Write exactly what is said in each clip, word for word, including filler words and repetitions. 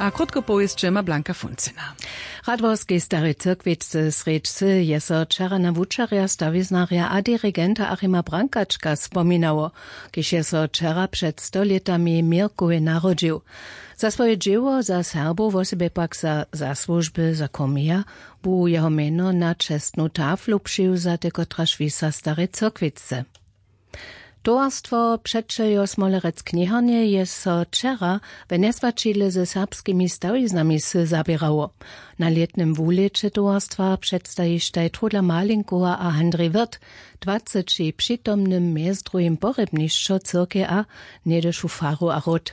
A krótko powěsće ma Blanka Funcina. Radworski stary cyrkwicce srjedźcy je so wčera na wučerja stawiznarja a dirigenta Achima Brankačka spominało, kiž je so wčera před stolětami w měrkowje narodźił. Za swoje dźěło za Serbow wosebje pak za zasłužby za komija bu jeho mjeno na čestnu taflu přiwzate, kotraž wisa stary cyrkwicce. Towarstwo přećeljo smolerec kniharnje je so wčera w njeswaćidle ze serbskimi stawiznami sy zaběrało. Na lětnym wulěće towarstwa předstajištaj trudla malinkowa a handri wirt dwaceći přitomnym mjez druhim porjebnišćo cyrkej a něhdyšu faru a ród.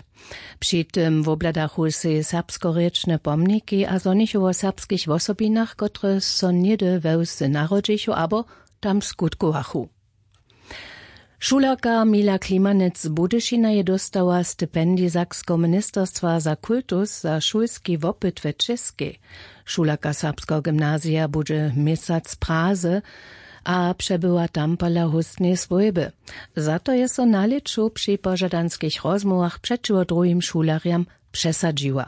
Při tym wobhladachu sej serbskorěčne pomniki a zhonichu wo serbskich wosobinach kotrež so něhdy we wsy narodźichu abo tam skutkowachu. Šulerka mila klimanec z budyšina je dóstała stipendij sakskeho ministerstwa za kultus za šulski wopyt w čěskej. Šulerka serbskeho gymnazija budźe měsac w praze a přebywa tam pola hóstneje swójby. Za to je so na lěću při požadanskich rozmołwach přećiwo druhim šulerjam přesadźiła.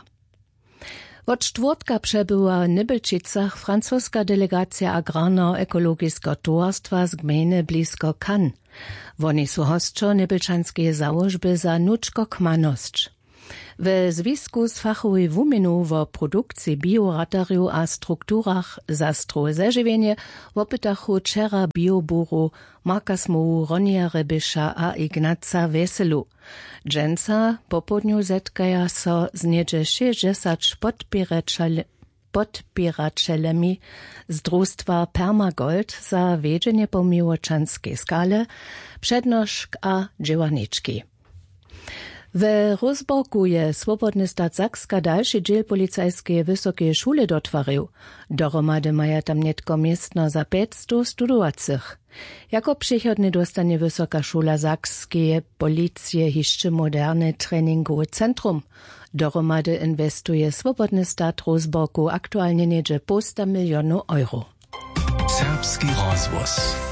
Wot štwórtka přebywa w nybelčicach francoska delegacija agrarneho ekologiskeho towarstwa z gmejny blisko Cannes. Woni su hosćo nybelčanskeje załožby za nučkokmanosć. We zwisku z fachowej wuměnu wo produkciji bioratarjow a strukturach za strowe zežiwjenje wopytachu wčera bioburu marka smołu ronija reběša a ignaca wjeselu. Dźensa popołdnju zetkaja so z něhdźe šěsćdźesać podpěraćelemi z drustwa permagold za wjedźenje po miłočanskeje skale, přednošk a dźěłarnički. We rózborku je swobodny stat sakska dalši dźěl policajskeje wysokeje šule dotwarił. Dohromady maja tam nětko městno za pjećstow studowacych. Jako přichodnje dóstanje wysoka šula sakskeje policije hišće moderne treningowe centrum. Dohromady inwestuje swobodny stat rózborku aktualnje něhdźe połsta milionow euro. Serbski rozhłos.